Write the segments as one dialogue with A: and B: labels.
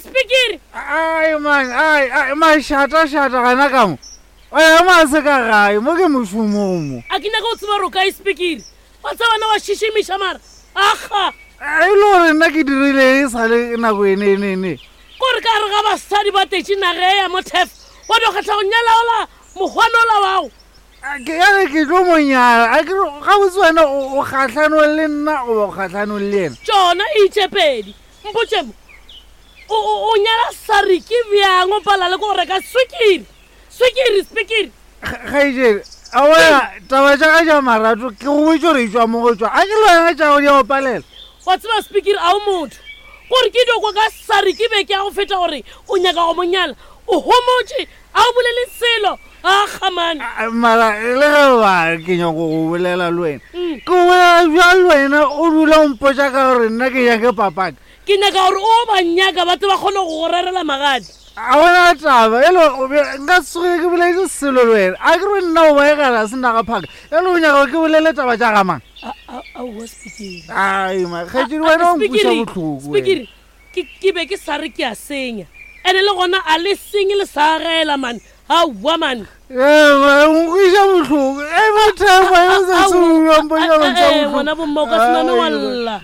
A: Spikiri.
B: Ai man, ai, ai, mašatašata gana ka mo. O ya ma se ka gae, mo ke mošomong mo.
A: A ke nyaka go tseba gore o kae Spikiri. Wa tseba wena wa šišimiša mara. Aga.
B: E le gore nna ke dirile e sa le nako ene ene ene.
A: Kore ka gare ga basadi ba tetše naga e ya mo Turf, wa no kgetha go nyala ola mokgwana ola wago.
B: Ke ya re ke tlo mo nyala. A ke re gabotse wena o kgahlanong le nna goba o kgahlanong le yena?
A: Tšona itše pedi. Mpotše mo, o, o, o nyala Sariki bjang o pala le ko go reka swikiri? Swikiri, spikiri.
B: Kgaetšedi, a wena taba tša ka tša marato ke go botše gore e tšwa mo go tšwa. A ke le wena tša gago di a go palela?
A: Wa tseba spikiri a o motho. Gore ke dio kwa ka Sariki beke ya go feta gore o nyaka go mo nyala. O homotše, a o bolele selo. Aga man.
B: Mara le ge ba ke nyako go bolela le wena. Ke bolela bjang le wena o dula o mpotša ka gore nna ke nyake papaka.
A: Ke nyaka gore o ba nyaka ba tle ba kgone go go rerela magadi.
B: A gona taba e le nka se tsoge ke boletse selo le wena. A ke re nna o baegela se naga phaka. E le o nyaka gore ke bolele taba tša ga mang?
A: Aowa Spikiri.
B: Ai ma kgaetšedi wena o nkweša bohloko.
A: Spikiri ke ke be ke sa re ke a senya. Ene le gona a le senye le sa agela man. Aowa man.
B: Ee, o nkweša bohloko. E ba thema e sa tsoma mpotša go ntša bohloko.
A: Ngwana bomma o ka se name wa lla.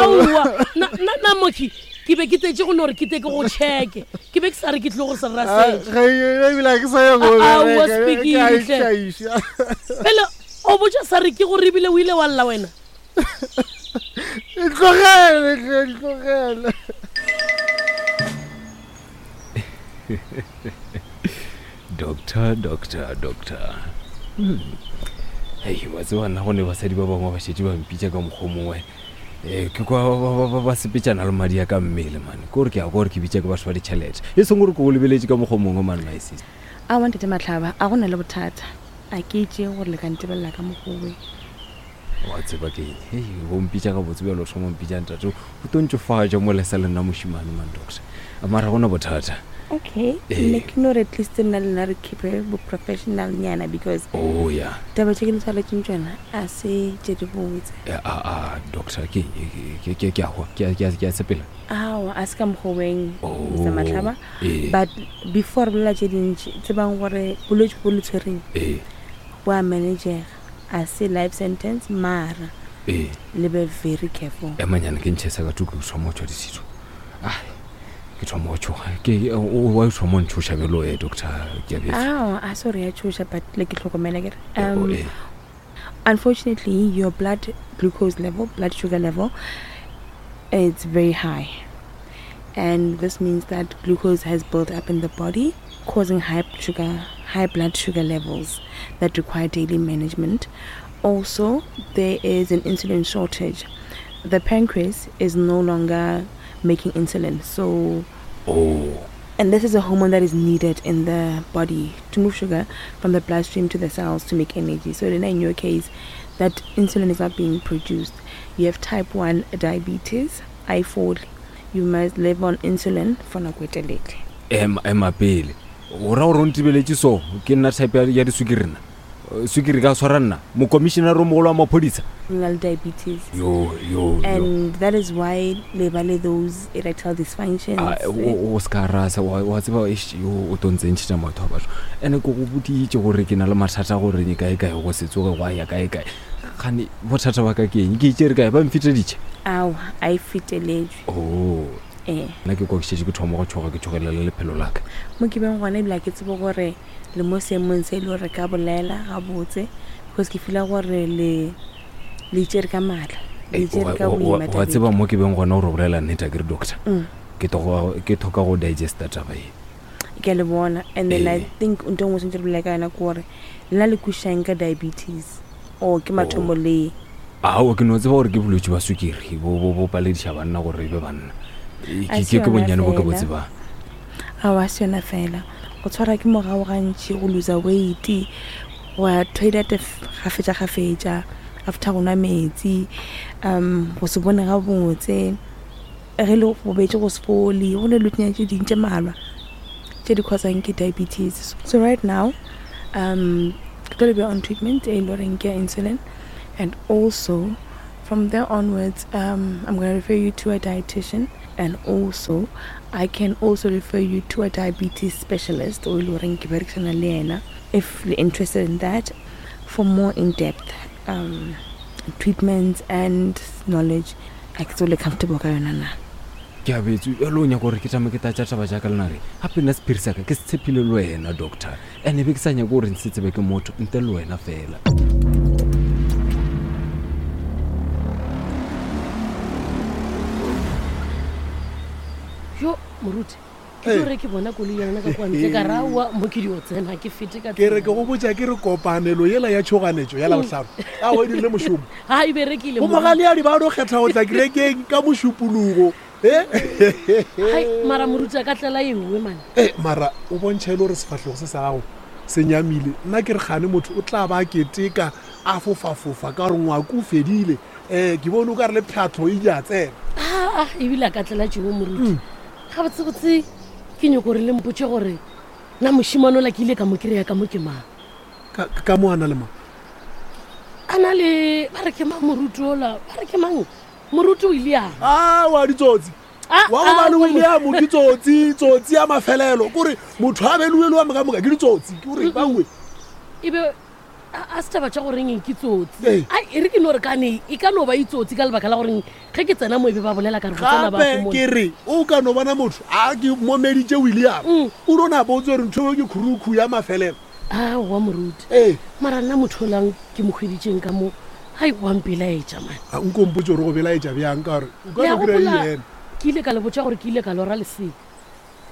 A: Aowa na na na mokhi ke be ke tletše go no re ke te ke go checke. Ke be ke sa re ke tlo go se rasetša.
B: Ge ebile ke sa ya go
A: Aowa Spikiri hle. Pele o botša sa re ke gore ebile o ile wa lla wena.
B: Ntlogele hle, ntlogele.
C: Doctor, doctor, doctor. Hmm. Hei, wa tseba nna go ne basadi ba bangwe ba šetše ba mpitša ka mokgwa o mongwe. Eh, ke kwa ba, ba, ba, ba sepetšana le madi a ka mmele mane. Ke gore ke a kwa gore ke bitša ke batho ba ditšhelete. E seng gore ke go lebeletše ka mokgwa o mongwe mane my sister.
D: Aowa ntate Mahlaba, a go na le bothata. A ke itše gore le ka ntebelela ka mokgwa owe.
C: Wa tseba ke eng? Hei, o mpitša gabotse bjalo o thoma o mpitša ntate. O tlo ntšofatša mo le sa le nna mošemane man doctor. Mara gona bothata.
D: Okay,
C: Ee.
D: nne ke no re at least nna le nna re keepe bo professional nyana because
C: Oh ya.
D: taba tše ke le tshwaretseng tšona a se tše di botse.
C: Eh, a a doctor ke eng? Ke ke ke a hwa. Ke a ke a ke a sepela.
D: Aowa, a se ka mokgwa weng,
C: Oh,
D: Mr. Mahlaba.
C: ee.
D: But before re bolela tše dintši, tsebang gore bolwetši bo le tshwereng
C: Ee.
D: bo a managega. A se life sentence mara
C: Ee.
D: le be very careful.
C: Emanyana ke ntšhe sa ka tuku ke thoma go tšwa disito. Ai, ke thoma go tšhoga. Ke o wa thoma go ntšhoša bjalo eh doctor Keabetswe.
D: Aowa, a se gore ya tšhoša but le ke hlokomela ke re.
C: Eh, oh, eh.
D: Unfortunately, your blood glucose level, blood sugar level, it's very high. And this means that glucose has built up in the body, causing high blood sugar levels that require daily management. Also, there is an insulin shortage. The pancreas is no longer making insulin, so...
C: Oh.
D: And this is a hormone that is needed in the body to move sugar from the bloodstream to the cells to make energy. So in your case, that insulin is not being produced. You have type 1 diabetes, I4. You must live on insulin for nako e telele.
C: Ema, ema pele. O ra gore o ntebeletše so, ke nna type ya, ya diswikiri nna? Swikiri ka swara nna, mokomišenare o mogolo wa maphodisa?
D: O na le diabetes.
C: Yo, yo, yo.
D: And that is why le ba le those erectile dysfunctions.
C: A, o, o se ka rasa, wa, wa tseba, eish, yo, o tlo ntse ntšhetša maoto a batho. Ene ke go boditše gore ke na le mathata gore ke kae kae, go se tsoge gwa ya kae kae. Gane bothata ba ka ke eng? Ke itšere kae? Ba mfeteditše?
D: Aowa, a e feteletšwe.
C: Oh.
D: Ee.
C: Nna ke kwa ke šetše ke thoma go tšhoga, ke tšhogelela le lephelo la ka.
D: Mo ke beng gona ebile ga ke tsebe gore le mo seemong se e le gore re ka bolela gabotse, because ke feela gore le le itšere ka maatla, le
C: Ei,
D: itšere
C: wa,
D: ka
C: wa, wa,
D: boima
C: wa
D: tabeng.
C: tseba mo ke beng gona gore o bolela nnete, a ke re doctor?
D: Mm.
C: Ke thoka, ke thoka go digesta taba ye.
D: Ke a le bona. And then I
C: Ee.
D: think ntho e nngwe swanetše re bolele ka yona ke gore lena le kwešišang ka diabetes or ke mathomo
C: Oh.
D: le?
C: Aowa, ke no tseba gore ke bolwetši bja swikiri bo, bo, bo palediša banna gore e be banna. E,
D: A
C: ke,
D: se
C: ke, ke
D: yona
C: bonnyane bo ke bo
D: fela.
C: tsebang.
D: Aowa, a se yona fela. Go tshwarwa ke morago gantši, go loser weight, go ya toilet kgafetša-kgafetša after go nwa metsi, um go se bone gabotse, ge le gobetše go se fole, go na le dilo tše dingwe tše mmalwa tše di causang ke diabetes. So right now, um ke tlo le beya on treatment e le goreng ke ya insulin and also. From there onwards, um, I'm going to refer you to a dietitian and also I can also refer you to a diabetes specialist o ile goreng ke berekisana le yena if you're interested in that for more in-depth um, treatments and knowledge a ke tsole comfortable ka yona na
C: ke abetse jalo o nyaka gore ke tame ke tatša taba jaaka lenare gape nna sephiri saka ke se tshepile le wena doctor and be ke sa nyake gore nse tsebe ke motho nte le wena fela
A: yo moruti ke tlo re ke bona koloi ya lona ka kwa ntle ka rawa mo ke dio tsena ke fete ka
E: ke re ke go botša ke re kopanelo yela ya tšhoganetšo ya labohlano a o e dirile mošomo
A: ga e berekile
E: go mogaleadi ba no kgetha go tla kerekeng ka mošupologo
A: Hai, mara moruti a ka tlela e nngwe mane
E: e mara o bontšha e le gore sefahlego se sa gago se nyamile nna ke re gane motho o tla ba a keteka a fofafofa ka gore ngwako o fedile um ke bone o ka re le phatlo e ja tsena
A: aa ebile a ka tlela tšengwe moruti gabotsebotse ke nyoko gore le mpotse gore na mošimane ola ke ile ka mo kry-a ka mo ke mang
E: ka ka mo a na le mang
A: a na le ba re ke mang moruti ola ba re ke mang moruti william
E: a wa ditsotsi
A: Ah,
E: wa go ba le
A: ah,
E: william ke tsotsi tsotsi ya mafelelo kore motho a beluelwa moka moka ke ditsotsi ke gore baue
A: e be a a setšhaba tša goreng eng ke tsotsi
E: Ee.
A: Ai, e re ke no re kane e ka no ba itsotsi ka lebaka la goreng ge ke tsena mo e be ba bolela ka re go tsena
E: gape
A: batho mo
E: ke re o ka no bona motho a ke momeditše william o no na botse gore ntho eo ke khurukhu ya mafelelo
A: aowa moruti
E: ee
A: mara nna motho olang ke mo hweditšeng ka mo ai wa mpelaetša mane
E: a nko mpotse gore go belaetša bjang ka gore o ka
A: Le a
E: no kry-a
A: gopola
E: ena
A: ke ile ka le botša gore ke ile ka lora lesea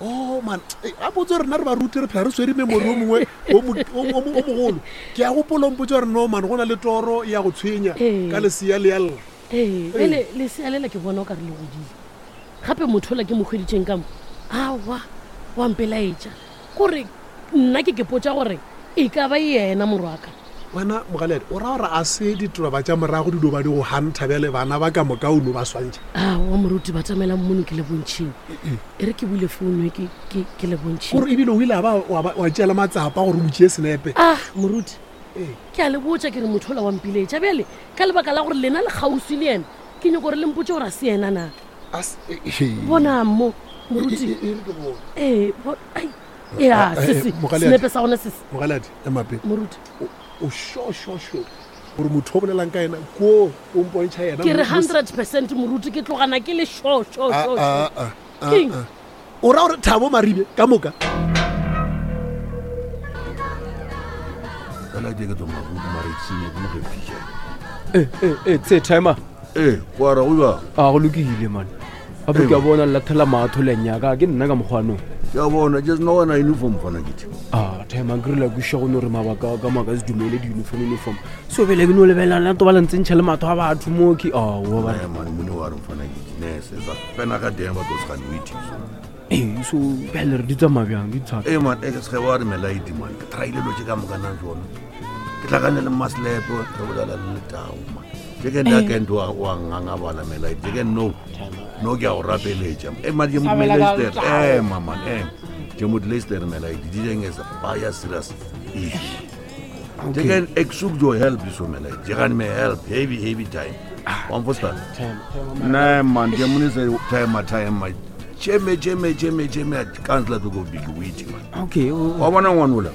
E: o man eh, a botse gore rena re baruti re phela re swere memori o mongwe o mo- o mo- o mo- o mogolo ke a gopola o mpotse gore no man go na le toro ya go tshwenya
A: Ee.
E: ka lesea le ya lla
A: ee bele lesea lela ke bona o ka re le godile gape motho ola ke mo hweditšeng ka mo aowa wa mpelaetša kore nna ke kepotša gore e ka ba yena morwaka
E: wena mogaledi o ra gore a se ditoroba tša morago di dio ba di go hantha bjale bana ba ka moka o no ba swantšha
A: aowa moruti ba tsamela mmono ke le bontšhing e re ke bule founu e ke- ke ke le bontšhing
E: kore ebile o ile a ba wa ba- wa tšeela matsapa gore o mo tšee senepe
A: ah moruti
E: Ee.
A: ke a le botša ke re motho ola wa mpiletša bjale ka lebaka la gore lena le kgauswi le yena ke nyako gore le mpotse gore a se yena na
E: A se- eh, eh,
A: bona mo moruti
E: e- e- e re ke bone.
A: ee bo- ai, ya
E: Ah, eh,
A: sese
E: Mogaladi.
A: senepe sa gona sese
E: mogaladi emape
A: moruti
E: o sure sure sure gore motho o bolelang ka ena ko o mpontšha yena
A: ke re
E: mo- mo-
A: 100 percent moruti ke tlogana ke le sure sure
E: Ah,
A: sure,
E: ah,
A: sure.
E: ah, ah,
A: Keng?
E: ah. o ra gore thabo maribe ka moka
F: fela ke ke tswa maruku mara ke senye ke moge fiša
C: ee tse timer
F: ee go ara go jang
C: a go lokile mane gape ke a bona lathela maatho le nyaka ke nna ka mokgwanong
F: ke a bona just no wena uniform fana kete
C: a timer ke rile kweša go no re mabaka ka maaka se dumele di-uniform uniform so bele ke no lebelela to ba le ntsentšha le matho a batho mo ke aowa ba
F: Eh, man mone wa re mfana kete nese sa fena ka deng ba tlo segane o ithiso
C: ee so bjale re di tsamaya bjang di thata
F: ee man e ke sege wa re melaidi man ke traile lo tše ka mokanang tsona ke tlhakane le maslepe re bolela le letao man je ke nna ke ntho wa ngangabala melaidi je ke no no ke a go rapeletša e man ke motlester ema man ema ke motlester melaidi di deng is a baya serious issue je ke exuke your help so melaidi je gane me help heavy heavy time wa mfostana ne man ke monise time time cheme cheme cheme cheme councilor to go big witty man
C: okay
F: wa bona ngwanola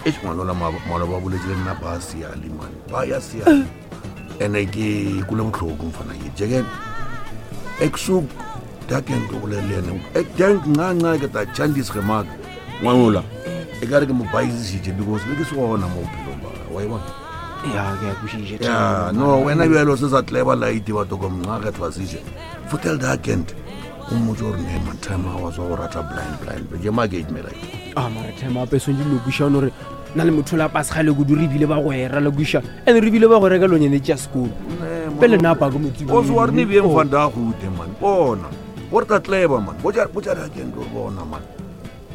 F: e ngwanola maloba boletse le nna ba siale man ba ya siale ene ke kule botlhoko mfana ke jeke eksuk daken ke bolele le ene dank ncanca ke ta chandis ge maka ngwanola e ka re ke mo baisisitše because be ke se gona mo bophelong ba gagwe, wa e bona
C: ya ke a kwešiša
F: ya no wena bjalo se sa tleba laite batho ko mnca kgethwa seše fotel dakent o mmotse gore ne man time a wa tswa go rata blind blind ke makate melaite
C: a mara time ape swantse lo kweša one gore na le motho la pasegale kudu re ebile ba go era le kweša and re ebile ba go reka lonyane tša sekolo pele nna apa ke
F: o se wa re ne bjeng fanda a gute man bona gore tla tleba man botša dakent gore bona man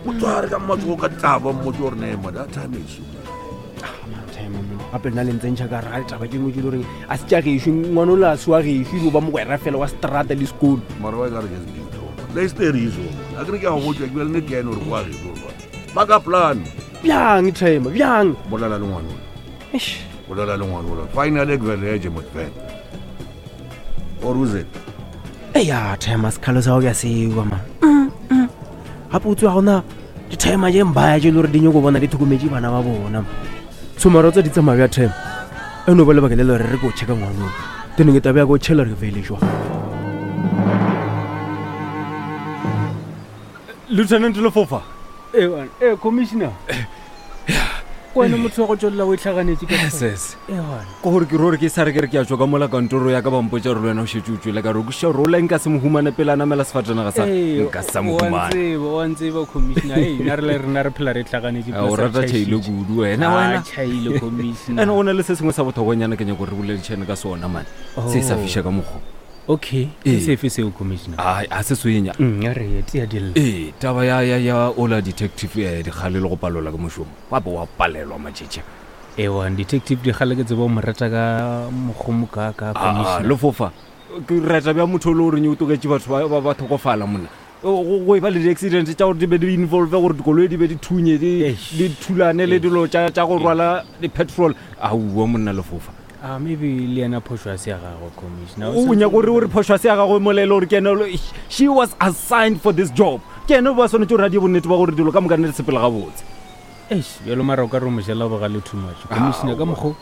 F: o tsware ka matsogo ka taba mmotse gore ne man that time is
C: gape nna le ntsentšha ka raga ditaba tše dingwe tse le goreng a se tša gešo ngwana o le a se wa gešo ebe ba mogwera fela wa strata le sekolo
F: mara wa e ka re ke sebitho leisteriso a kere ke a go botša ke bjale ne ke ene gore kwa gešo gore ba ka plan
C: bjang time bjang
F: bolela le ngwanola
C: Eish.
F: bolela le ngwanola finally ke beleje motfela Or who's it?
G: Eya, timer sekhalo sa go ke a sewa man. Gape o tsewa gona di-timer tše mbaya tše e le gore di nyako bona di tlhokometše bana ba bona. So mara o tsa di tsamaya bja timer. E no ba lebaka le le gore re ko checka ngwanong. Then ke tabe ya ko tšhela re fele jwa.
C: Lieutenant Lefofa.
H: Ewan, eh commissioner. Wena motho wa go tswelela o itlhaganetse ka
C: Yes, yes.
H: Ewan.
C: Ko gore ke rore ke sa re ke re ke a tswa ka mola kantoro ya ka ba mpotša gore le wena o šetše o tswele ka re o kwešiša gore o la nka se mo humane pele a namela sefatanaga sa
H: Ee,
C: nka sa mo
H: wa
C: humane.
H: ntseba, wa ntseba commissioner. Ei, nna re le rena re phela re itlhaganetse.
C: A, o rata tšhaile kudu wena wena.
H: Tšhaile commissioner.
C: Ene go na le se sengwe sa bothokonyana ke nyako gore re boledišane ka sona mane. Se sa
H: Oh.
C: fiša ka mokgwa.
H: Okay, ke
C: Ee.
H: sefe seo commissioner?
C: Ai, a se swenya.
H: A re ye tia dilla.
C: Ee, taba ya ya ya ola detective eh, dikgale le go palola ke mošomo. Wa be wa palelwa matšhetše.
H: Ewa, detective dikgale ke tseba o mo rata ka mokgomo ka ka
C: Ah,
H: commissioner.
C: lefofa ke reta bja motho o le goreng o togetše batho ba- ba ba tlhokofala monna go go e ba le di-accident tša gore di be di involve gore dikoloi di be di thunye di
H: Eish.
C: di thulane le dilo tša tša go rwala di-petrol aowa monna lefofa
H: Ah, maybe le yena phošo a se ya gagwe commissioner.
C: o nyaka gore o re phošo a se ya gagwe molele gore ke ene she was assigned for this job ke ene ba swanetse gore a die bonnete ba gore dilo ka moka ne di sepele gabotse
H: Eish, bjalo mara o ka re o mo jela bogale too much. Commissioner ka mokgo.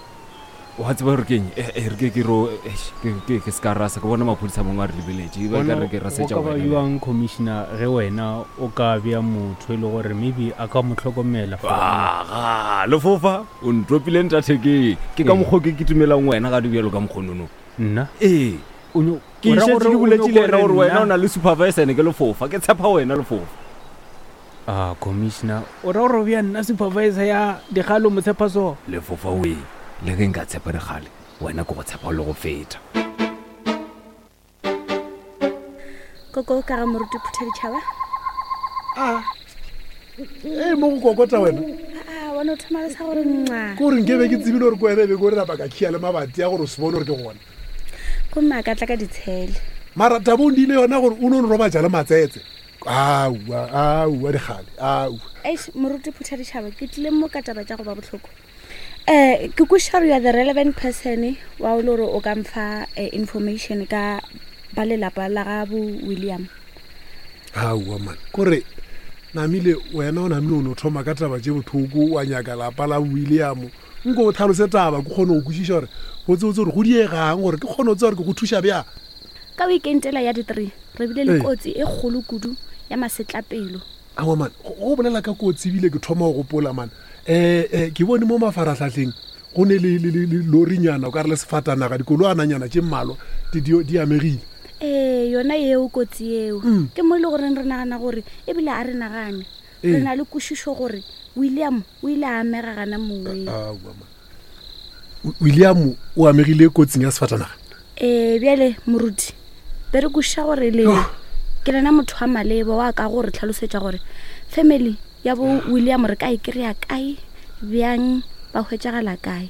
C: wa tseba gore keng e re ke ke ro eish, ke se ka rasa ke bona maphodisa a mangwe a re lebeletše ba ka re ke
H: go
C: rasetša
H: ka ba
C: wena.
H: bjang commissioner ge wena o ka bea motho e le gore maybe a ka mo hlokomela for
C: aga lefofa o ntopile ntathekeng ke ka
H: Ee.
C: mokgwa ke kitumelang wena ga di bjalo ka mokgonono
H: nna
C: ee
H: O nyo-
C: ke
H: o ra
C: šetše
H: gore
C: ke
H: o
C: boletše
H: nyoko
C: le ena gore wena
H: nna-
C: o na le supervisor ene ke lefofa ke tshepa wena lefofa
H: ah commissioner o ra gore o bea nna supervisor ya dikgalo mo tshepa so
C: lefofa oe le ge nka tshepa dikgale wena ke go tshepa le go feta
I: Koko ka ga moruti phutha ditšhaba.
E: Ee, mo go kokota wena.
I: A wa no thoma le sa gore nxa.
E: Ke gore nke be ke tsebile gore ke wena e be ke gore napa ka khia le mabati a gore o se bone gore ke gona.
I: Gomme a ka tla ka ditshele.
E: Mara taba o ndile yona gore o no nrobatša le matsetse. Aowa, aowa dikgale, aowa.
I: Eish, moruti phutha ditšhaba ke tlile mo ka taba tša go ba bohloko. Ke kwešiša gore you are the relevant person wa o le gore o ka mfa information ka ba lelapa la ga bo William.
E: Aowa man, kore namile wena o namile o no thoma ka taba tše bohloko wa nyaka lapa la William. Nko o tlhalose taba ke kgone go kwešiša gore botsebotse gore go diegang gore ke kgone go tseba gore ke go thuša bjang.
I: Ka weekend ela ya di-3 re bile le
E: Ee.
I: kotsi e kgolo kudu ya masetlapelo.
E: Aowa man, go bolela ka kotsi ebile ke thoma go gopola man. Ke bone mo mafaratlhatlheng go ne le le le le lorinyana o ka re le sefatanaga dikoloananyana tše mmalwa di di di amegile.
I: Ee, yona eo kotsi eo. Ke mo e le goreng re nagana gore ebile a re nagane.
E: Ee.
I: Re na le kwešišo gore William o ile a amega gana moweng.
E: Aowa man. William o amegile kotsing ya sefatanaga.
I: Ee, bjale moruti be re kwešiša gore lena ke lena motho wa maleba wa ka gore tlhalosetša gore family ya bo William re ka e kry-a kae, bjang, ba hwetšagala kae.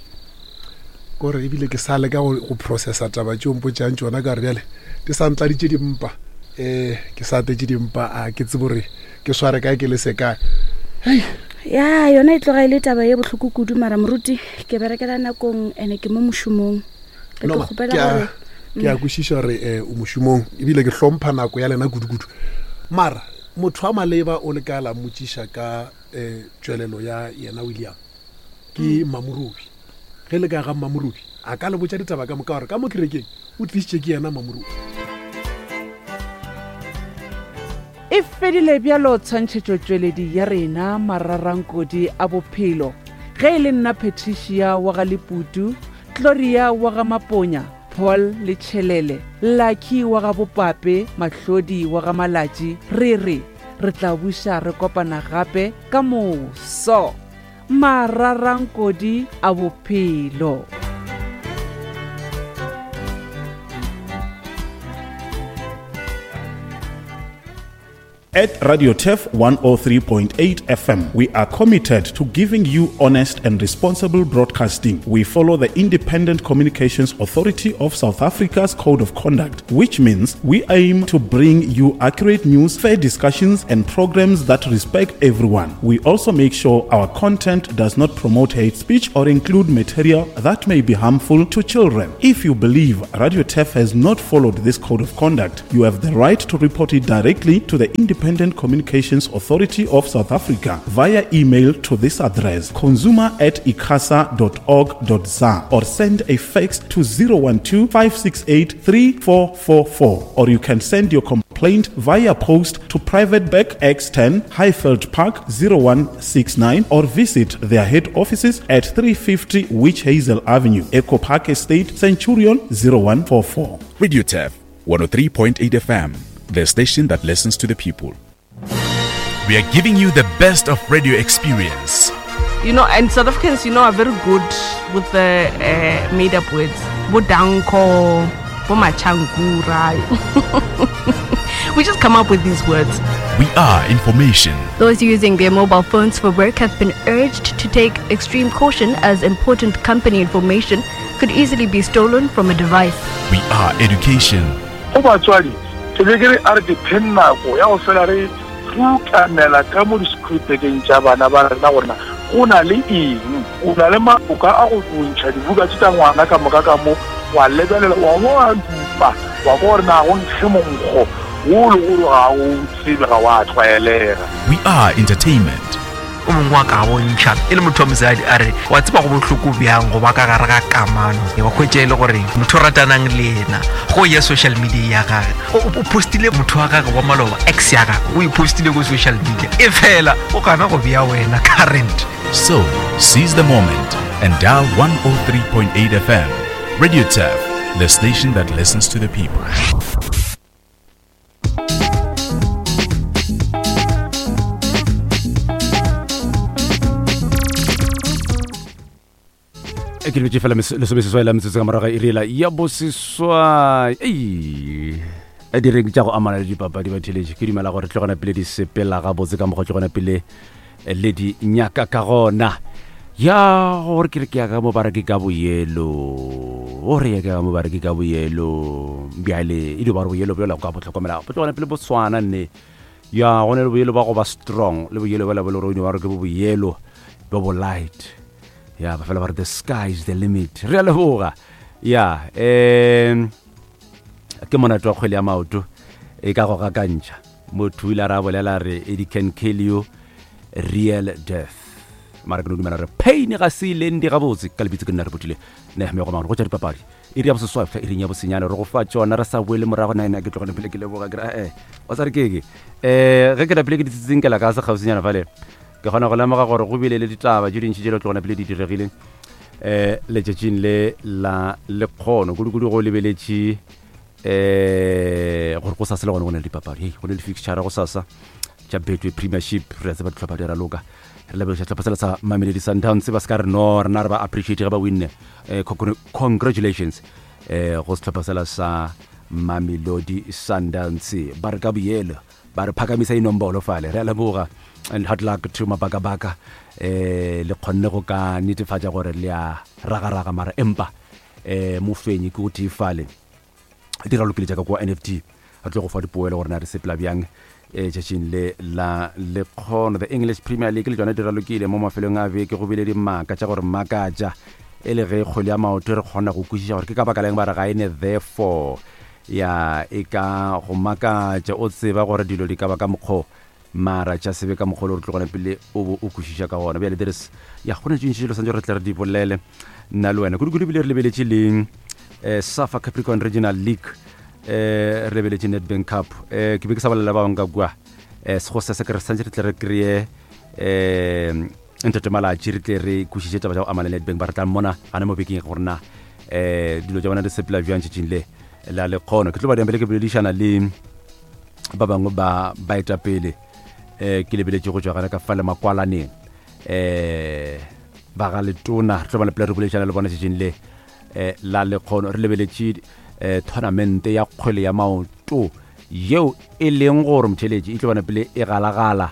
E: Kore ebile ke sa leka go processa taba tšeo mpotšang tšona ka gore bjale di sa ntladitše dimpa. Ke sa atetše dimpa, a ke tsebe gore ke sware kae ke lese kae. Hei.
I: Ya, yona e tloga e le taba ye bohloko kudu mara moruti ke berekela nakong ene ke mo mošomong. Be ke
E: No, ma,
I: kgopela
E: ke a-
I: gore
E: ke a kwešiša gore o mošomong ebile ke hlompha nako ya lena kudu-kudu. Mara motho wa maleba o le ka la mmotšiša ka tšwelelo ya yena William ke Mamorobi. Ge le ka ga Mamorobi a ka le botša ditaba ka moka gore ka mo kerekeng o tlišitše ke yena Mamorobi.
J: E fedile bjalo tshwantšhetšotšweledi ya rena mararankodi a bophelo. Ge e le nna Patricia wa ga Leputu, Gloria wa ga Maponya, Paul le Tšhelele, Lucky wa ga Bopape, Mahlodi wa ga Malatši, re re re tla buša re kopana gape ka moso. Mararankodi a bophelo.
K: At Radio Turf 103.8 FM, we are committed to giving you honest and responsible broadcasting. We follow the Independent Communications Authority of South Africa's Code of Conduct, which means we aim to bring you accurate news, fair discussions, and programs that respect everyone. We also make sure our content does not promote hate speech or include material that may be harmful to children. If you believe Radio Turf has not followed this code of conduct, you have the right to report it directly to the Independent Communications Authority of South Africa via email to this address consumer at icasa.org.za or send a fax to 012 568 3444 or you can send your complaint via post to Private Bank X10 Highveld Park 0169 or visit their head offices at 350 Witch Hazel Avenue, Echo Park Estate, Centurion 0144.
L: Radio Tef 103.8 FM, the station that listens to the people. We are giving you the best of radio experience.
M: You know, and South Africans, you know, are very good with the uh, made up words. Bodanko, Bomachangura. we just come up with these words.
L: We are information.
N: Those using their mobile phones for work have been urged to take extreme caution as important company information could easily be stolen from a device.
L: We are education.
O: Go batswadi, ke be ke re a re dipheng nako ya go fela re rukanela ka mo di-schoolbekeng tša bana ba rena gorena go na le eng o na le maboka a go bontšha dibuka tše tša ngwana ka moka ka mo wa lebelela wa bo wa dupa wa kwa gore na go nkge monkgo wo le gore ga o tsebe ga wa tlwaelega
L: We are entertainment.
P: O mongwe wa ka bontšha e le motho wa mosadi a re wa tseba go bohloko bjang go ba ka gare ga kamano wa hwetša e le gore motho o ratanang le yena go ya social media ya gage o postile motho wa gage wa maloba ex ya gage o e postile ko social media e fela o gana go bea wena current
L: So, seize the moment and dial 103.8 FM. Radio Turf, the station that listens to the people.
Q: E ke lebetše fela lesomeseswai la metsotso ka morago ga iri yela ya boseswai ei a direng tša go amana le dipapadi ba theletše ke dumela gore tlogona pele di sepela gabotse ka mokgwa tlogona pele eh, le di nyaka ka gona ya gore ke re ke ya ka mo ba re ke ka boyelo o re ya ka mo ba re ke ka boyelo bjale e di ba re boyelo bjola go ka bo tlhokomela bo tlogona pele bo swana nne ya go ne le boyelo ba go ba strong le boyelo bjala bo le gore o ba re ke bo boyelo bo bo light ya ba fela ba re the sky is the limit re a leboga ya um ke monate wa kgwele ya maoto e ka go gakantšha Motho o ile a re a bolela re it can kill you real death. Mara ke no dumela re pain ga se ile ndi gabotse ka lebitso ke nna re botile ne me go mangwe go tša dipapadi iri ya boseswai fihla iring ya bosenyane re go fa tšona re sa boele morago na ena ke tlogele pele ke leboga ke re eh wa sa re keke eh ge ke rapile ke ditsitsinkela ka se kgauswinyana fale ke kgona go lemoga gore go bile le ditaba tše dintši tše le tlogona pele di diregile eh letšatšing le la lekgono kudu-kudu go lebeletše eh gore go sasa le gone go na le dipapadi hei go ne le fixture go sasa tša betway premiership re a tseba ditlhopha di raloka re leboša sehlopha sela sa mamelodi sundowns ba se ka re no rena re ba appreciate ge ba winne eh, congratulations eh go sehlopha sela sa mamelodi sundowns ba re ka boyelo ba re phakamisa inombolo fale re a leboga and hard luck to mabakabaka eh le kgonne go ka netefatša gore le a ragaraga mara empa eh mofenyi ke o tee fale di ralokile jaaka kwa nft re tlo go fa dipoelo gore na re sepela bjang eh, tšatšing le la lekgono the english premier league le tšona di ralokile mo mafelong a beke go bile dimaka tša gore makatša e le ge kgwele ya maoto re kgona go kwešiša gore ke ka baka leng ba re ga e ne therefore ya e ka go makatša o tseba gore dilo di ka ba ka mokgwa Mara tša sebe ka mokgwa o le gore tlogela pele o bo o kwešiša ka gona. Bjale there is, ya, go na tše ntši tše santse re tle re di bolele nna le wena. Kudu-kudu ebile re lebeletše le eh, Safa Capricorn Regional League, eh, re lebeletše Nedbank Cup. Eh, ke be ke sa bolela ba bangwe ka kua eh, go sesa ke re santse re tle re kry-e eh, ntate Malatši re tle re kwešiše taba tša go amana le Nedbank ba re tla mmona gana mo bekeng gore na eh, dilo tša bona di sepela bjang tšatšing le la lekgono. Ke tlo ba diambele ke boledišana le ba bangwe ba baetapele um ke lebeletše go tšwa gana ka fa le makwalaneng um ba ga letona re tlo ba lepela re boledišana le bona tšatšing le um la lekgono re lebeletše um tournamente ya kgwele ya maoto um yeo e leng gore motheletši e tlo bana pele e galagala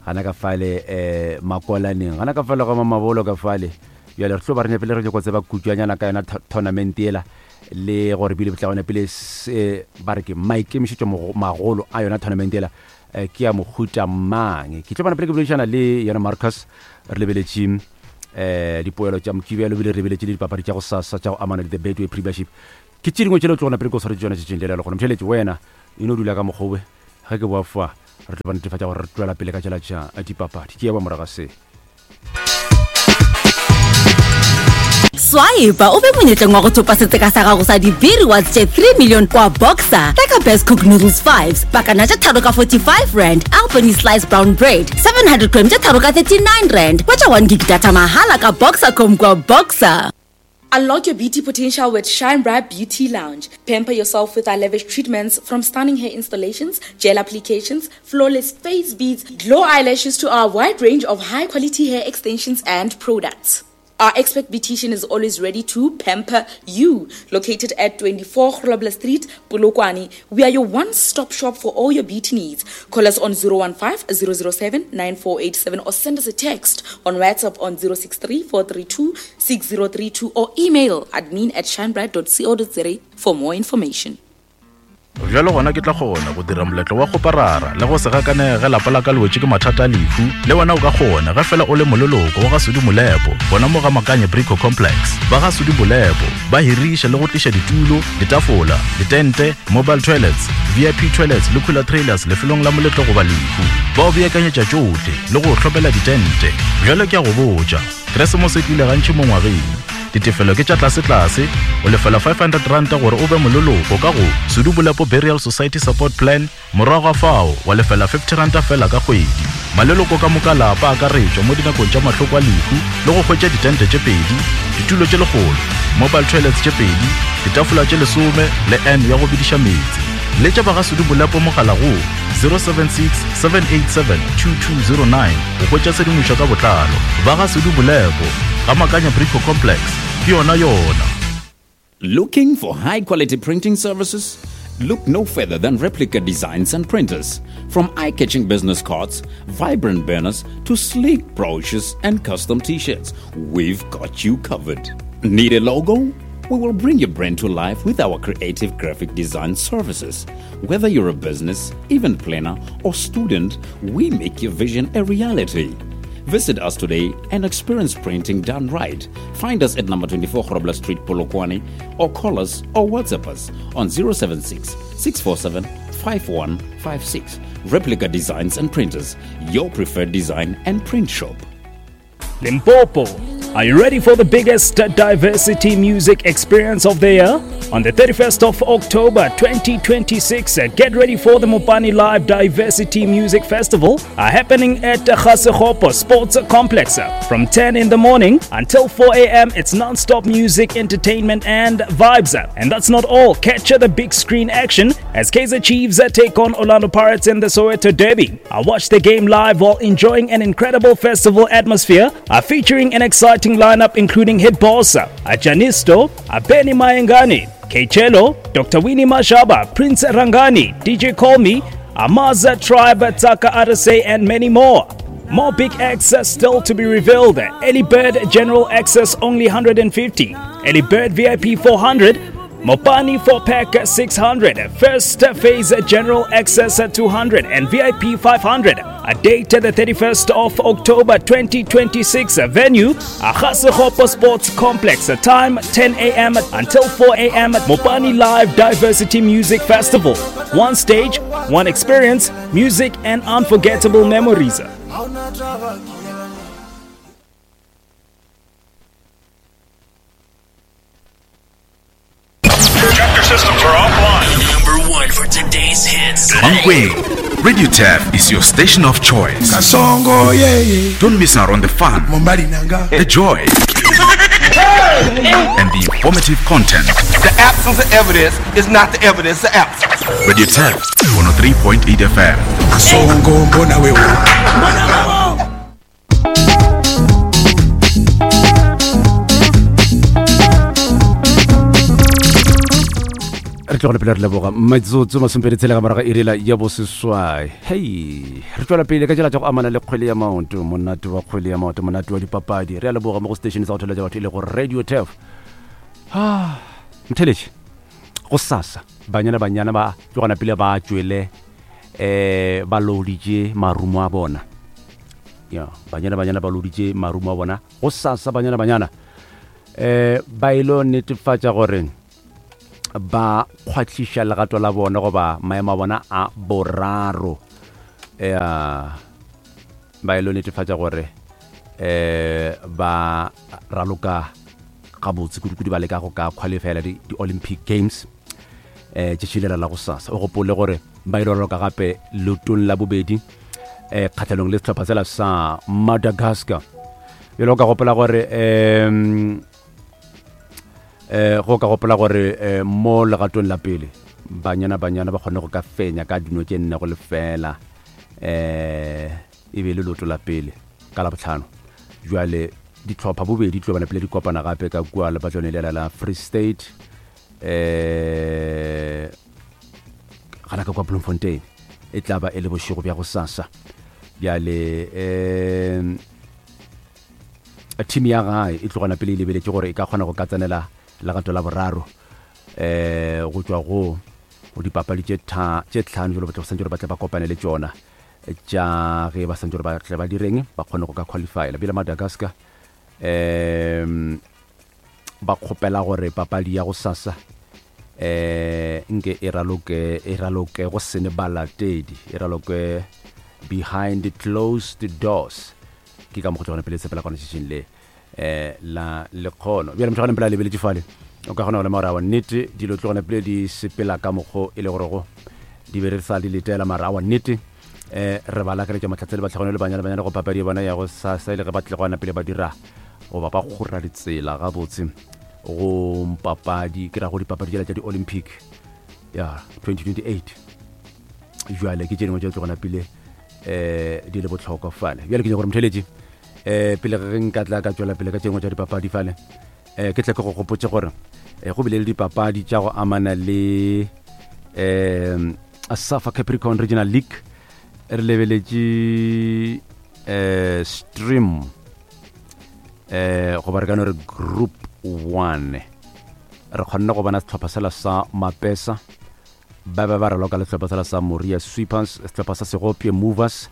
Q: gana ka fale um makolaneng gana ka fale ga mamabolo ka fale bjale re tlo ba re nyapele re nyako tseba kutšwanyana ka yona tournament ela le gore bile tla gona pele se ba re ke maikemišetšo magolo a yona tournament ela eh, ke ya mohuta mang ke tlo bana pele ke boledišana le yena Marcus re lebeletše um dipoelo tša mokibelo ebile re lebeletše le dipapadi tša go sasa tša go amana le the Betway Premiership ke tše dingwe tšele o tlo gona pele ke o swaretše tšona tšetšeng le le gona motheletše wena e no dula ka mokgobe ge ke boa fa re tlo ba netefatša gore re tšwela pele ka tšela tša dipapadi ke ya ba moraga se
R: Swipe o be monyetleng wa go thopa setseka sa gago sa di-B rewards tše 3 million kwa Boxer. Reka Best Cook Noodles 5s, pakana tše tharo ka 45 rand, Albany Slice Brown Bread, 700 gram tše tharo ka 39 rand. Hwetša 1 gig data mahala ka Boxercom kwa Boxer.
S: Unlock your beauty potential with Shine Bright Beauty Lounge. Pamper yourself with our lavish treatments from stunning hair installations, gel applications, flawless face beads, glow eyelashes to our wide range of high quality hair extensions and products. Our expert beautician is always ready to pamper you. Located at 24 Grobler Street, Polokwane, we are your one-stop shop for all your beauty needs. Call us on 015 007 9487 or send us a text on WhatsApp on 063 432 6032 or email admin at shinebright.co.za for more information.
K: Bjalo gona ke tla kgona go dira moletlo wa kgoparara le go se gakanege ge lapa la ka le wetše ke mathata a lehu. Le wena o ka kgona ge fela o le moleloko wa ga Sudi Molepo gona mo ga Makanye Brico Complex. Ba ga Sudi Molepo ba hiriša le go tliša ditulo, ditafola, ditente, mobile toilets, VIP toilets le cooler trailers lefelong la moletlo goba lehu. Ba o beakanyetša tšohle le go o hlomela ditente. Bjalo ke a go botša, Keresemose e tlile gantši mo ngwageng. Ditefelo ke tša tlasetlase, o lefela R500 gore o be moleloko ka go Sudu Bolepo Burial Society Support Plan, morago ga fao wa lefela R50 fela ka kgwedi. Maleloko ka moka lapa a akaretšwa mo dinakong tša mahloko a lehu le go hwetša ditente tše pedi, ditulo tše lekgolo, mobile toilets tše pedi, ditafola tše lesome le urn ya go bediša meetse. Letša ba ga Sudu Bolepo mogala go 076 787 2209 go hwetša tshedimošo ka botlalo. Ba ga Sudu Bolepo, ga Makanya Brico Complex, ke yona yona.
T: Looking for high quality printing services? Look no further than Replica Designs and Printers. From eye catching business cards, vibrant banners, to sleek brochures and custom t shirts, we've got you covered. Need a logo? We will bring your brand to life with our creative graphic design services. Whether you're a business, event planner, or student, we make your vision a reality. Visit us today and experience printing done right. Find us at number 24 Grobler Street, Polokwane, or call us or WhatsApp us on 076 647 5156. Replica Designs and Printers, your preferred design and print shop.
U: Limpopo. Are you ready for the biggest diversity music experience of the year? On the 31st of October 2026, get ready for the Mopani Live Diversity Music Festival happening at Ga-Sekgopo Sports Complex from 10 in the morning until 4 a.m. It's non-stop music, entertainment and vibes. And that's not all. Catch the big screen action as Kaizer Chiefs take on Orlando Pirates in the Soweto Derby. I watch the game live while enjoying an incredible festival atmosphere featuring an exciting lineup including Hit Boss, Janisto, Benny Mayengani, Kechelo, Dr. Winnie Mashaba, Prince Rangani, DJ Call Me, Amaza Tribe, Taka Arase, and many more. More big acts still to be revealed. Ellie Bird General Access only 150, Ellie Bird VIP 400, Mopani 4 pack 600, first phase general access 200 and VIP 500. A date the 31st of October 2026. Venue Ga-Sekgopo Sports Complex. Time 10 a.m. until 4 a.m. Mopani Live Diversity Music Festival. One stage, one experience, music and unforgettable memories.
V: Chapter systems are offline. Number one for today's hits.
L: Mankweng, Radio Tap is your station of choice.
E: Kasongo, yeah, yeah.
L: Don't miss out on the fun, the joy, and the informative content.
W: The absence of evidence is not the evidence of absence.
L: Radio Tap 103.8 FM.
E: Kasongo, mbona wewe.
Q: Re Re tlogele pele re leboga metsotso masomepedi tshela ka morago iri la ya boseswai. Hei, re tšwela pele ka tšela tša go amana le kgwele ya maoto, monate wa kgwele ya maoto, monate wa dipapadi. Re a leboga mo go station sa go theletša batho e le go Radio Turf. Ah, mtheletše, go sasa banyana banyana ba tlogana pele ba tšwele eh ba loditše marumo a bona. Ya, banyana banyana ba loditše marumo a bona. Go sasa banyana banyana eh ba ilo netefatša gore ba kgwahliša legato la bona goba maemo a bona a boraro ya ba ilo netefatša gore eh ba raloka gabotse kudu-kudu ba leka go ka qualifyela di-olympic games eh tšatši lela la go sasa o gopole gore ba ile raloka gape lotong la bobedi eh kgatlhanong le sehlopha sela sa madagascar bjalo ka gopola gore um eh go ka gopola gore eh, mo legatong la pele banyana banyana ba kgone go ka fenya ka dino tše nne go lefela eh e be le loto la pele ka la botlhano jwale ditlhopha bobedi tlo bana pele di kopana gape ka kua lepatlone lela la Free State eh gana ka kwa Bloemfontein e tla ba e le bošego bja go sasa bjale um team ya gae e tlogana pele e lebeletše gore e ka kgona go ka tsenela legato la boraro um go tšwa go go dipapadi tše tše tlhano jalo batle go santse gore ba tle ba kopane le tšona tša ge ba santse gore ba tle ba direng ba kgone go ka qualifyela bjale Madagascar um ba kgopela gore papadi ya go sasa eh nke e raloke e raloke go sene balatedi e raloke behind closed doors ke ka mokgwa tlogana pele tshepela kwana tšatšing le eh la lekgono bjale motho gane pele a lebeletše fale o ka kgona go lema gore awa nnete dilo tlogana pele di sepela ka mokgo e le gorego di be re sa di letela mara awa nnete eh re ba lakaletša mahlatse le batlhagone le banyana banyana go papadi ya bona ya go sasa e le ge ba tle go pele ba dira goba ba kgora ditsela gabotse go papadi ke ra go dipapadi tšela tša di-olympic ya 2028 jale ke tše dingwe tša tlogona pele um di le bohlokwa fale bjale ke nyaka gore motheletši um pele ge nka tla ka tšwela pele ka tše dingwe tša dipapadi fale um ke tle ke go gopotse gore um go bile le dipapadi tša go amana le um safa capricorn regional league re lebeletše um stream um goba re ka no re group one re kgonne go bona setlhopha sela sa mapesa ba be ba raloka le sehlopha sela sa Moria Sweepers, sehlopha sa Segopje Movers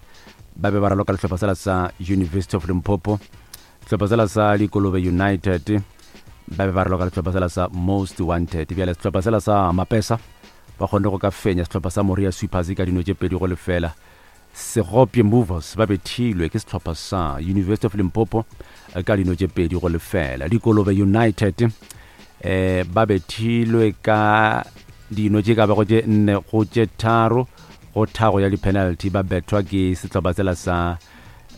Q: ba be ba raloka le sehlopha sela sa University of Limpopo, sehlopha sela sa Dikolobe United ba be ba raloka le sehlopha sela sa Most Wanted. Bjale sehlopha sela sa Mapesa ba kgonne go ka fenya sehlopha sa Moria Sweepers ka dino tše pedi go lefela. Segopje Movers ba bethilwe ke sehlopha sa University of Limpopo ka dino tše pedi go lefela. Dikolobe United eh ba bethilwe ka dino tše ka bago tše nne go tše tharo go thago ya di-penalty ba bethwa ke sehlopha sela sa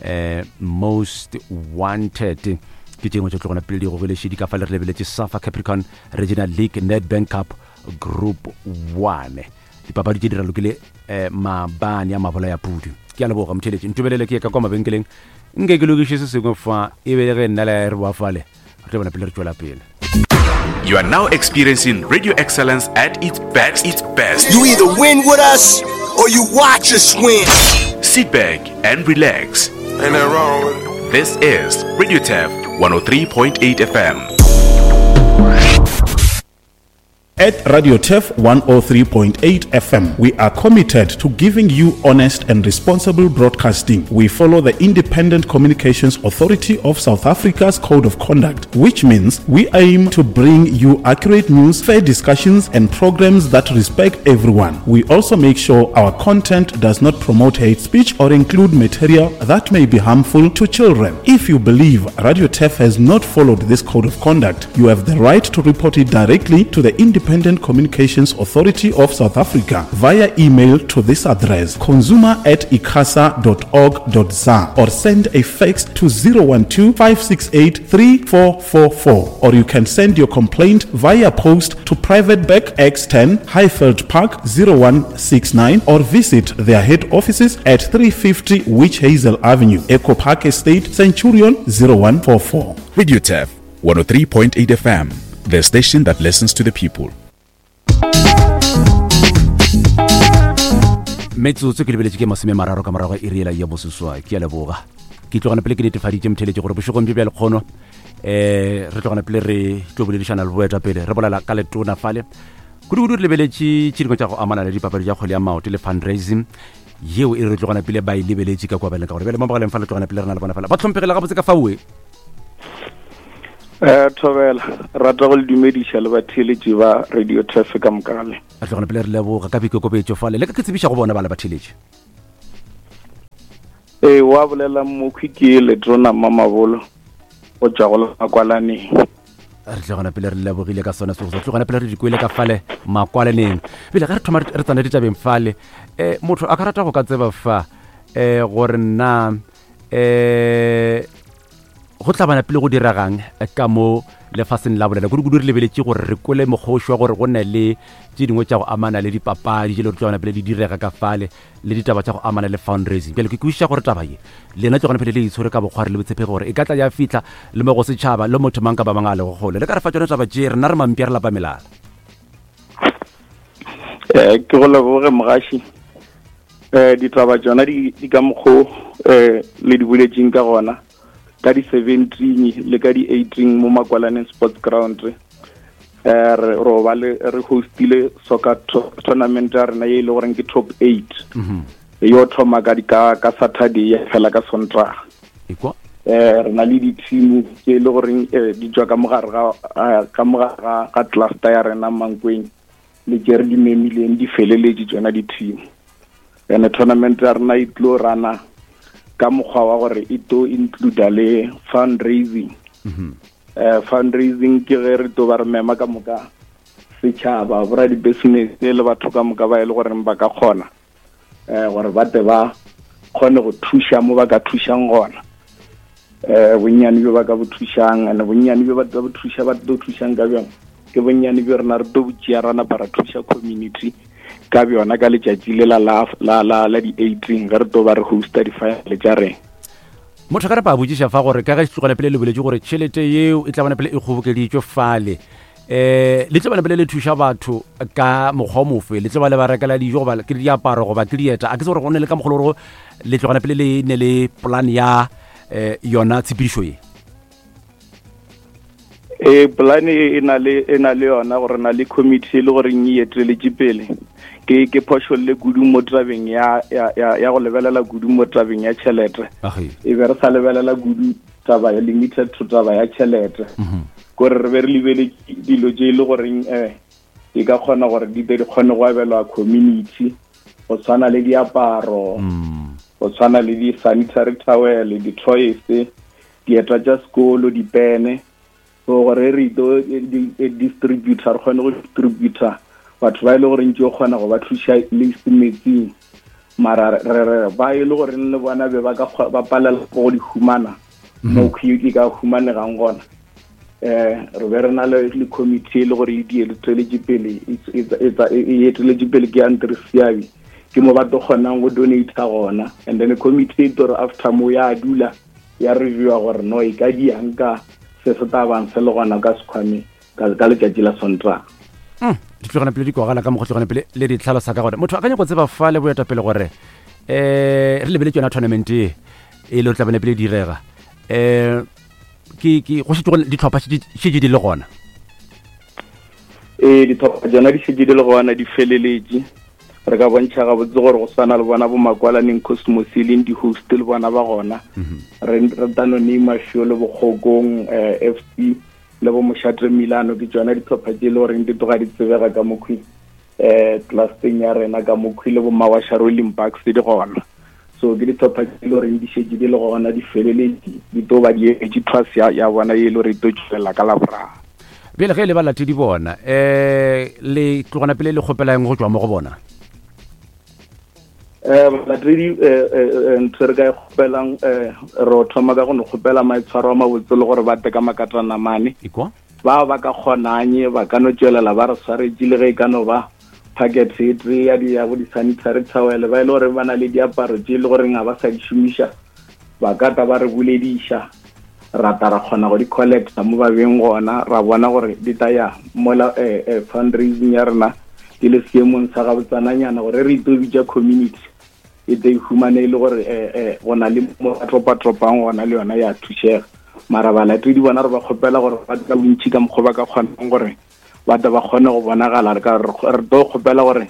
Q: eh Most Wanted. Ke tše dingwe tše tlogona pele di gogile šedi ka fa le re lebeletše Safa Capricorn Regional League Nedbank Cup Group 1. Dipapadi tše di ralokile eh, maabane a mabola ya pudu. Ke a leboga motheletši. Ntobelele ke ye ka kwa mabenkeleng nke ke lokiše se sengwe fa e be le ge nna le re boa fale re tlo bona pele re tšwela pele.
L: You are now experiencing radio excellence at its best. Its best.
A: You either win with us or you watch us win.
L: Sit back and relax.
A: Ain't nothing wrong with it.
L: This is Radio Tef 103.8 FM.
K: At Radio Turf 103.8 FM, we are committed to giving you honest and responsible broadcasting. We follow the Independent Communications Authority of South Africa's Code of Conduct, which means we aim to bring you accurate news, fair discussions, and programs that respect everyone. We also make sure our content does not promote hate speech or include material that may be harmful to children. If you believe Radio Turf has not followed this code of conduct, you have the right to report it directly to the Independent Communications Authority of South Africa via email to this address consumer at icasa.org.za or send a fax to 012 568 3444 or you can send your complaint via post to Private Bank X10 Highveld Park 0169 or visit their head offices at 350 Witch Hazel Avenue, Echo Park Estate, Centurion 0144.
L: Radio Turf 103.8 FM, the station that listens to the people.
Q: Metsotso ke lebeletše ke masome mararo ka morago ga iri yela ya boseswai. Ke a leboga. Ke tlogana pele ke netefaditše motheletše gore bošegong bjo bja lekgono eh re tlogana pele re tlo boledišana le boetapele re bolela ka letona fale kudu-kudu re lebeletše tše dingwe tša go amana le dipapadi tša kgwele ya maoto le fundraising yeo e re tlogana pele ba e lebeletše ka kwa beleng ka gore bjale mo mogaleng fa le tlogana pele re na le bona fela ba tlhomphegile gabotse ka faoe.
B: Thobela, rata go le dumediša le batheeletši ba Radio Turf ka moka ga lena.
Q: Re tlogana pele re leboga ka boikokobetšo fale le ka ke tsebiša go bona ba le batheeletši.
B: Ee, wa bolela mokhwi ke Letrona Mmamabolo go tšwa go la Makwalaneng.
Q: Re tlogana pele re lebogile ka sona seo, tlogana pele re di kwele ka fale Makwalaneng. Pele ge re thoma re tsena ditabeng fale, motho a ka rata go ka tseba fa gore nna go tla bana pele go diregang ka mo lefaseng la bolela, kudu-kudu re lebeletše gore re kwele mokgoši wa gore go ne le tše dingwe tša go amana le dipapadi tše le gore tla bana pele di direga ka fale le ditaba tša go amana le fundraising. Bjale ke kwešiša gore taba ye lena tlogana pele le itshwere ka bokgwari le botshepegi gore e ka tla ya fihla le mo go setšhaba le motho mang kapa mang a lego kgole. Le ka re fa tšone taba tše, rena re mampša re lapa melala.
B: Ke go leboge mogaši. Ditaba tšona di ka mokgo le di boletšeng ka gona ka di-17 le ka di-18 mo Makwalaneng Sports Ground. Re ro ba le re hostile soccer tournament ya rena ye e le goreng ke top 8. Yo thoma ka di ka ka Saturday ya fela ka Sontaga.
Q: Ekwa.
B: Re na le di-team tse e le goreng di tswa ka mogare ga ka mogare ga cluster ya rena Mankweng le tše re di memileng di feleletše tšona di-team. And tournament ya rena e tlo rana ka mokgwa wa gore e tlo include le fundraising. Fundraising ke ge re tlo ba re mema ka moka setšhaba, bora di-business le batho ka moka ba e le goreng ba ka kgona gore ba tle ba kgone go thuša mo ba ka thušang gona. Bonnyane bjo ba ka bo thušang, and bonnyane bjo ba tlo bo thuša, ba tlo thušang ka bjona ke bonnyane bjo rena re tlo bo tšea ra napa ra thuša community ka bjona ka letšatši lela la di-18 ge re tlo ba re hosta di-final tša rena.
Q: Motho ka re pa botšiša fa gore ka ge tlogela pele le boletše gore tšhelete yeo e tla bona pele e kgobokeditšwe fale, le tlo bona pele le thuša batho ka mokgwa o mofe? Le tlo ba le ba rekela dijo goba ke diaparo goba ke dieta? A ke se gore go ne le ka mokgwa le gore le tlogela pele le ne le plan ya yona tshepedišo ye?
B: Plan e na le, e na le yona gore na le committee e le gore e eteletše pele. Ke phošolle kudu mo tabeng ya go lebelela kudu mo tabeng ya tšhelete. E be re sa lebelela kudu taba ya limited to taba ya tšhelete. Kore re be re lebele dilo tše e le goreng e ka kgona gore di be di kgone go abelwa community, go tshwana le diaparo, go tshwana le di-sanitary towel, di-toys, dieta tša sekolo, dipene. So gore re tlo distributor, re kgone go distributor batho ba e le gore ntse o kgona go ba thuša le metsing, mara re re ba e le gore le bona be ba ka ba palela go di humana mo e ka humanegang gona. Re be re na le committee e le gore e di eteletše pele, e eteletše pele ke Andre Seabi, ke mo ba tlo kgonang go donate gona. And then committee e tlo re after mo ya dula ya reviewa gore no e ka diang ka se se tla bang se le gona ka sekhwameng ka letšatši la Sontaga.
Q: Di tlogana pele di kwagala ka mokgwa tlogana pele le di tlhalosa ka gona. Motho a ka nyaka go tseba fa le boetapele gore re lebeletse yona tournament e e le tla bana pele direga, ke go šetše go ditlhopha šetše di le gona?
B: Ee, ditlhopha tsona di šetše di le gona, di feleletše. Re ka bontšha gabotse gore go swana le bona bo Makwalaneng Cosmos e leng di-host le bona ba gona. Re tano name a few le Bokgokong FC le bo Mošate Milano, ke tsona ditlhopha tše e le goreng di tloga di tsebega ka mokhwi clusteng ya rena ka mokhwi, le bo Mawasha Rolling Bucks di gona. So ke ditlhopha tše e le goreng di šetše di le gona, di feleletše, di tlo ba di emetše thwase ya bona ye e le gore e tlo tšwelela ka Laboraro.
Q: Bjale ge e le balatedi bona, le tlogana pele le kgopela eng go tšwa mo go bona?
B: Balatedi, ntho re ka e kgopelang, re thoma ka go no kgopela maitshwaro a mabotse le gore ba tle ka makatana mane.
Q: Ekwa?
B: Ba ba ka kgonanye ba ka no tšwelela ba re swaretše le ge e ka no ba packet e tee ya di ya bo di-sanitary towel, ba e le gore ba na le diaparo tše e le goreng ga ba sa di šomiša, ba ka tla ba re bolediša, ra tla ra kgona go di collecta mo ba beng gona, ra bona gore di tla ya mola fundraising ya rena di le seemong sa gabotsananyana gore re itlo bitša community. e tle e humane e le gore eh, eh, go na le mo ba tropatropang gona le yona ya thušega. Mara balatedi bona re ba kgopela gore ba tla bontši ka mokgwa ba ka kgonang gore ba tle ba kgone go bonagala. Re ka re tlo kgopela gore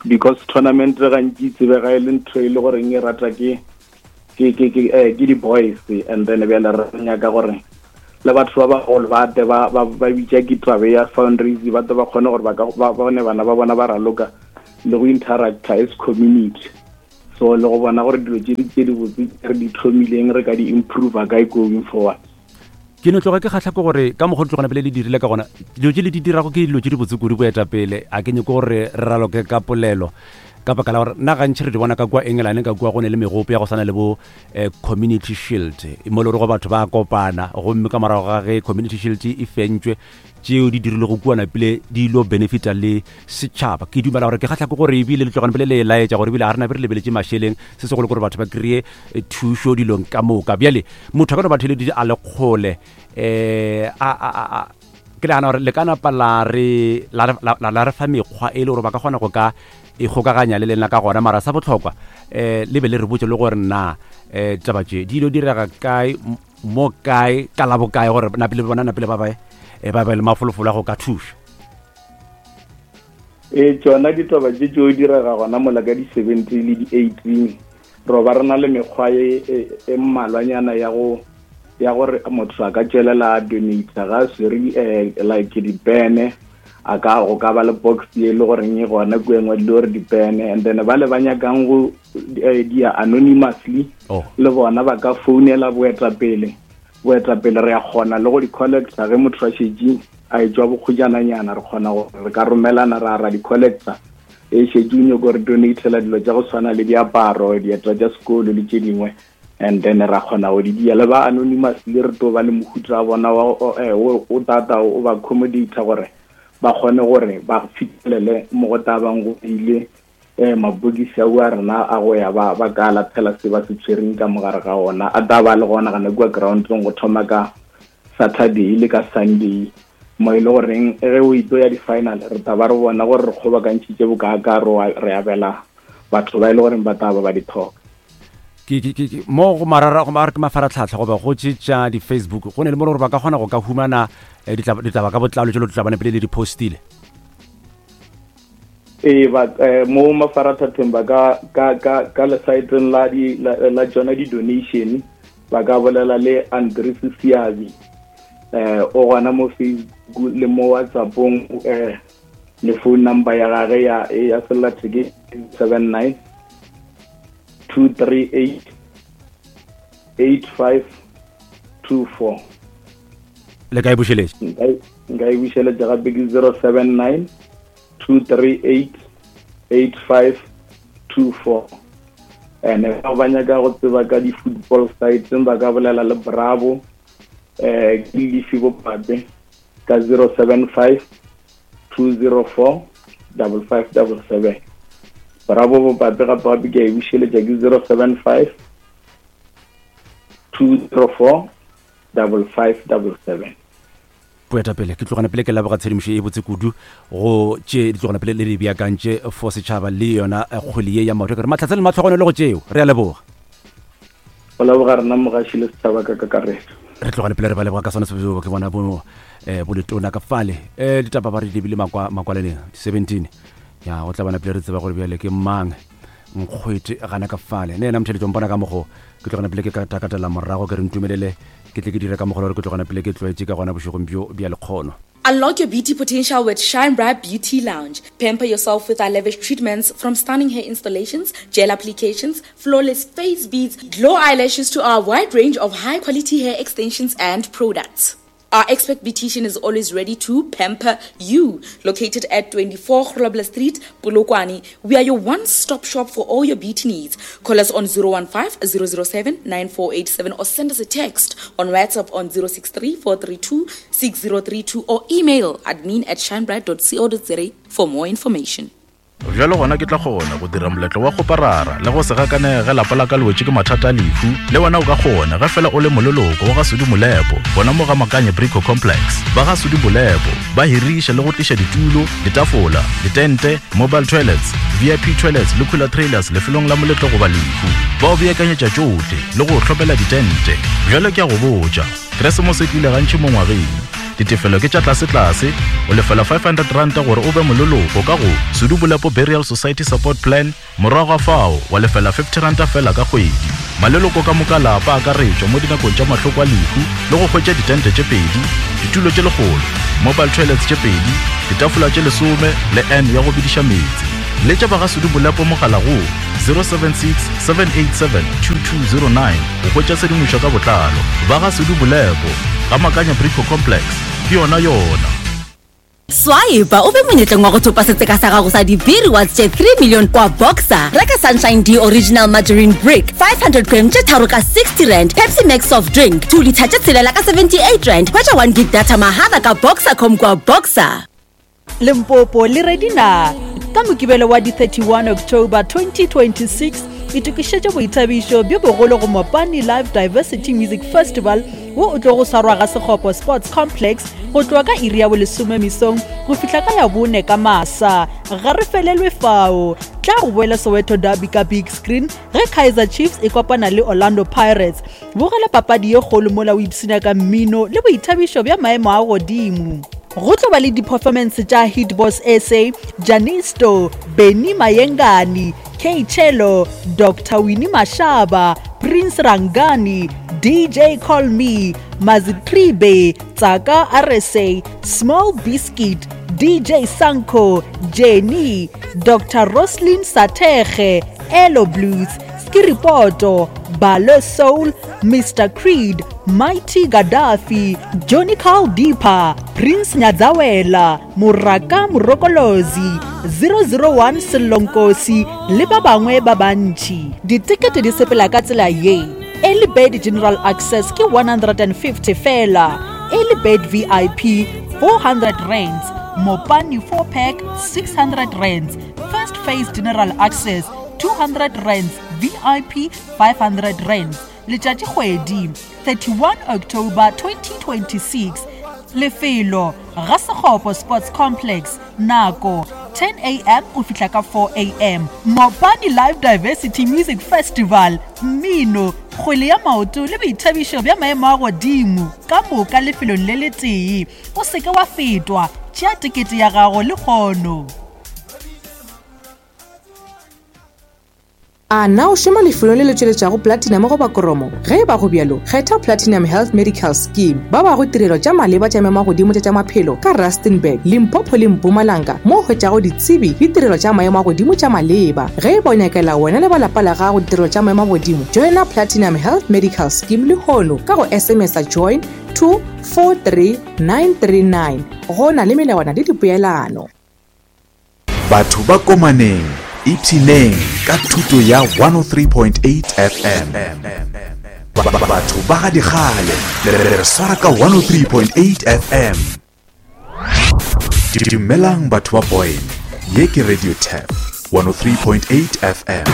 B: because tournament gantši tsebega e le ntho e le goreng e rata ke ke ke ke eh, ke di-boys, and then bjale re nyaka gore le batho ba bagolo ba tle ba ba ba bitša ke tabe ya fundraise, ba tle ba kgone gore ba ka ba bone bana ba bona ba raloka le go interacta as community. So le go bona gore dilo tse di tse di botse re di thomileng re ka di improve kae going forward.
Q: Ke no tloga ke kgatlha ke gore ka mokgwa tlogana pele le dirile ka gona, dilo tse le di dirago ke dilo tse di botse kudu. Boetapele, a ke nyako gore re raloke ka polelo ka baka la gore nna gantši re di bona ka kua England, ka kua go ne le megopo ya go swana le bo Community Shield, mo le gore go batho ba kopana, gomme ka morago ga ge Community Shield e fentšwe, tšeo di dirilego kua napile di ilo benefita le setšhaba. Ke dumela gore ke kgatlha ke gore ebile le tlogane pele le laetša gore ebile ga re nabe re lebeletše mašeleng, se segolo gore batho ba kry-e thušo dilong ka moka. Bjale motho a ka no ba theleditše a le kgole, um ke nagana gore le ka napa la re la re fa mekgwa e le gore ba ka kgona go ka ikgokaganya le lena ka gona. Mara sa bohlokwa, um le be le re botse le gore na um taba tše di ilo direga kae, mo kae, ka la bokae, gore napile bona napile ba bae ba be le mafolofolo a go ka thuša.
B: Ee, tsona ditaba tše tšeo direga gona mola ka di-17 le di-18. Ro ba re na le mekgwa e, e, e mmalwanyana ya go ya gore motho a ka tšwelela a donate ga a swere like dipene, a ka go ka ba le box e le goreng e gona kua engwe le gore dipene, and then ba le ba nyakang go dia anonymously le bona ba ka founela boetapele. Boetapele re ya kgona le go di collecta ge motho a šetše a etšwa bokgojananyana, re kgona gore re ka romelana ra ra di collecta e šetše o nyako re donatela dilo tša go tshwana le diaparo, dieta tša sekolo le tše dingwe, and then ra kgona go di dia. Le ba anonymously re tlo ba le mohuta wa bona o tata o ba accommodata gore ba kgone gore ba fitlhelele mo go tabang go ile mabokisi a a rena a go ya ba ba ka lathela se ba se tshwereng ka mogare ga ona, a tla ba le gona gana kua groundong go thoma ka Saturday le ka Sunday, mo e le goreng ge o itlo ya di-final re tla ba re bona gore re kgobakantšhitše bokaaka re abela batho ba e le goreng ba tla ba ba di tlhoka.
Q: Ke ke ke mo go marara go mara ke mafaratlhatlha goba go tše tša di-Facebook, go ne le mo le gore ba ka kgona go ka humana ditaba ka botlalo tšelo tla bane pele le di postile?
B: Ee, ba mo mafaratlhatlheng ba ka ka ka ka lesaeteng la di la tsona di-donation ba ka bolela le Andres Siabi, o gona mo Facebook le mo WhatsAppong, le phone number ya gage ya ya sellatheke 79 238 8524.
Q: Le ka e bušeletša?
B: Nka e bušeletša gape, ke 079 238 8524. And ba ba nyaka go tseba ka di-football sites ba ka bolela le Bravo, ke Lefi Bopape ka 075 204 5577. Bravo Bopape gape gape ke a e bušeletša, ke 075 204 5577.
Q: Boetapele, ke tlogana pele ke leboga tshedimošo e botse kudu go tše di tlogana pele le di beakantše for setšhaba le yona kgwele ye ya maoto. Ke re mahlatse le matlhogonolo go tšeo, re a leboga.
B: Go leboga rena mogaši le setšhaba ka kakaretso.
Q: Re tlogane pele re ba leboga ka sona sebjoo. Ke bona bo boletona ka fale, ditaba ba re di lebile makwaleneng 17 ya go tla bona pele re tseba gore bjale ke mang nkgwete gana ka fale. Ne yena motheletšo mpona ka mogo ke tlogana pele ke ka takatela morago, ke re ntumelele ke tle ke dire ka mogolo gore ke tlogana pele ke tlwaetše ka gona bošegong bjo bja lekgono.
S: Unlock your beauty potential with Shine Bright Beauty Lounge. Pamper yourself with our lavish treatments, from stunning hair installations, gel applications, flawless face beads, glow eyelashes to our wide range of high quality hair extensions and products. Our expert beautician is always ready to pamper you. Located at 24 Grobler Street, Polokwane, we are your one-stop shop for all your beauty needs. Call us on 015 007 9487 or send us a text on WhatsApp on 063 432 6032 or email admin at shinebright.co.za for more information.
K: Bjalo gona ke tla kgona go dira moletlo wa kgoparara le go se gakanege ge lapa la ka le wetše ke mathata a lehu. Le wena o ka kgona ge fela o le moleloko wa ga Sudi Molepo gona mo ga Makanye Brico Complex. Ba ga Sudi Molepo ba hiriša le go tliša ditulo, ditafola, ditente, mobile toilets, VIP toilets le cooler trailers lefelong la moletlo goba lehu. Ba o beakanyetša tšohle le go o hlomela ditente. Bjalo ke a go botša, Keresemose e tlile gantši mo ngwageng. Ditefelo ke tša tlasetlase, o lefela R500 gore o be moleloko ka go Sedubolepo Burial Society Support Plan, morago ga fao wa lefela R50 fela ka kgwedi. Maleloko ka moka lapa a akaretšwa mo dinakong tša mahloko a lehu le go hwetša ditente tše pedi, ditulo tše lekgolo, mobile toilets tše pedi, ditafola tše lesome le urn ya go bediša meetse. Letša ba ga Sedubolepo mogala go 076 787 2209 go hwetša tshedimošo ka botlalo. Ba ga Sedubolepo, ga Makanya Brico Complex, ke yona yona.
R: Swipe o be monyetleng wa go thopa setseka sa gago sa di-B rewards tše 3 million kwa Boxer. Reka Sunshine D Original Margarine Brick 500 gram tše tharo ka 60 rand, Pepsi Max Soft Drink 2 litre tše tshelela ka 78 rand. Hwetša 1 gig data mahala ka Boxercom kwa Boxer.
D: Limpopo le ready na? Ka Mokibelo wa di 31 October 2026, itokišetše boithabišo bjo bogolo go Mopani Live Diversity Music Festival wo o tlogo swarwa ga Sekgopo Sports Complex go tloga ka iri ya bolesome mesong go fihla ka ya bone ka masa. Ga re felelwe fao, tla go boela Soweto Derby ka big screen ge Kaizer Chiefs e kopana le Orlando Pirates. Bogela papadi ye kgolo mola o ipshina ka mmino le boithabišo bja maemo a godimo. Go tlo ba le di-performance tša Hit Boss SA, Janisto, Benny Mayengani, K-Cello, Doctor Winnie Mashaba, Prince Rangani, DJ Call Me, Mazitribe, Tsaka RSA, Small Biscuit, DJ Sanko, Jenny, Dr. Roslyn Sathekge, Elo Blues, Skiripoto, Balo Soul, Mr. Creed, Mighty Gaddafi, Johnny Carl Deeper, Prince Nyadzawela, Muraka Murokolozi, 001 Selonkosi le ba bangwe ba bantši. Ditekete di sepela ka tsela ye. Early Bird General Access ke 150 fela, Early Bird VIP 400 rands, Mopani 4 pack 600 rands, First Phase General Access 200 rands, VIP 500 rands. Letšatšikgwedi 31 October 2026. Lefelo Ga Sekgopo Sports Complex. Nako 10 am go fihla ka 4 am. Mopani Live Diversity Music Festival, mmino, kgwele ya maoto le boithabišo bja maemo a godimo ka moka lefelong le letee. O se ke wa fetwa, tšea tekete ya gago lehono.
F: A na o šoma lefelong le le tšweletšago platinum goba kromo? Ge e ba go bjalo, kgetha Platinum Health Medical Scheme. Ba bago tirelo tša maleba tša maemo-a-godimo tša tša maphelo ka Rustenburg, Limpopo le Mpumalanga mo o hwetšago ditsebi le tirelo tša maemo a godimo tša maleba. Ge e ba o nyakela wena le ba lapa la gago ditirelo tša maemo a godimo, joina Platinum Health Medical Scheme lehono ka go SMS-a join to 43939. Go na le melawana le dipoelano.
L: Batho ba Komaneng, ipshineng ka thuto ya 103.8 FM. Batho ba ga dikgale, le re swara ka 103.8 FM. Dumelang batho ba Boyne, ye ke Radio Tap 103.8 FM.